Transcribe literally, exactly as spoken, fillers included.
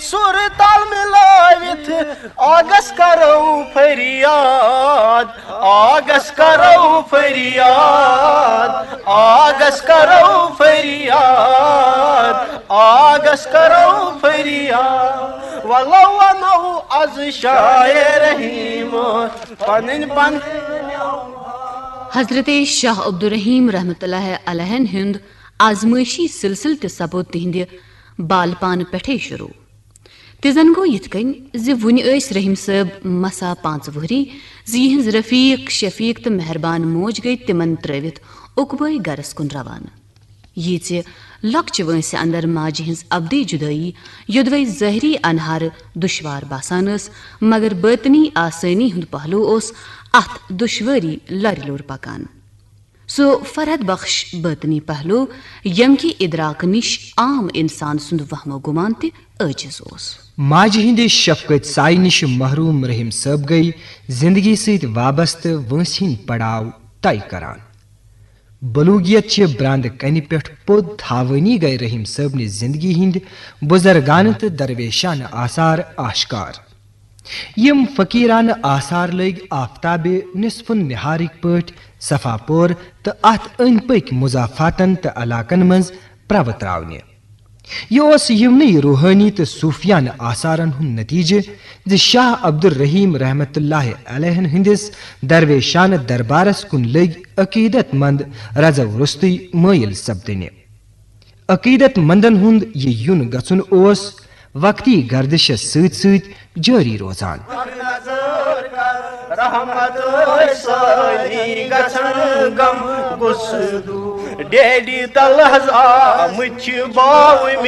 سُر تال مِلٲوِتھ آگس کرو فریاد، آگس کرو فریاد، آگس کرو فریاد، آگس کرو فریاد۔ ولو ونو از شاہ رحیم پنٕنۍ پن۔ حضرت شاہ عبدالرحیم رحمت اللہ علیہن ہُنٛد آزمٲیشی سلسلہٕ تہِ سپُد تِہنٛدِ بالپانہٕ پٮ۪ٹھے شروع۔ تہِ زن گوٚو یِتھ کٔنۍ زِ وُنہِ ٲسۍ رحیم صٲب مسا پانٛژھ وُہری زِ یِہنٛز رفیق، شفیق تہٕ مہربان موج گٔیہِ تِمن ترٲوِتھ عقبٲے گرس کُن روانہٕ۔ ییٖژِ لۄکچہِ وٲنٛسہِ اندر ماجہِ ہٕنٛز ابدی جُدٲیی یوٚدوے ظٲہری انہارٕ دُشوار باسان ٲس، مگر بٲطنی آسٲنی ہُنٛد پہلو اوس اتھ دُشوٲری لرِ لوٚر پکان۔ سُہ فرحت بخش بٲطنی پہلو، ییٚمہِ کہِ ادراکہٕ نِش عام انسان سُنٛد وہمو گُمان تہِ عٲجز اوس۔ ماجہِ ہٕنٛدِ شفقت سایہِ نِش محروم رحیم صٲب گٔیہِ زندگی سۭتۍ وابستہٕ وٲنٛسہِ ہٕنٛدۍ پڑاو طے کران۔ بلوغیت چہِ براندٕ کنہِ پٮ۪ٹھ پوٚد تھاوٲنی گٔیہِ رحیم صٲبنہِ زندگی ہٕنٛدۍ بُزرگانہٕ تہٕ درویشانہٕ آثار آشکار۔ یِم فقیرانہٕ آثار لٔگۍ آفتابِ نصف النہارٕکۍ پٲٹھۍ صفا پور تہٕ اتھ أنٛدۍ پٔکۍ مضافاتن تہٕ علاقن منٛز پرٛوٕ تراونہِ۔ یہِ اوس یِمنٕے روحٲنی تہٕ صوفیانہٕ آثارن ہُنٛد نتیجہٕ زِ شاہ عبدالرحیم رحمت اللہ علیہن ہٕنٛدِس درویشانہٕ دربارس کُن لٔگۍ عقیدت مند رزو روٚستُے مٲیِل سپدٕنہِ۔ عقیدت مندن ہُنٛد یہِ یُن گژھُن اوس وقتی گردشس سۭتۍ سۭتۍ جٲری روزان۔ رحمت ٲسۍ سٲری گژھن غم گُسہٕ دوٗر۔ ڈیڈی تل حض آمٕتۍ چھِ باوٕ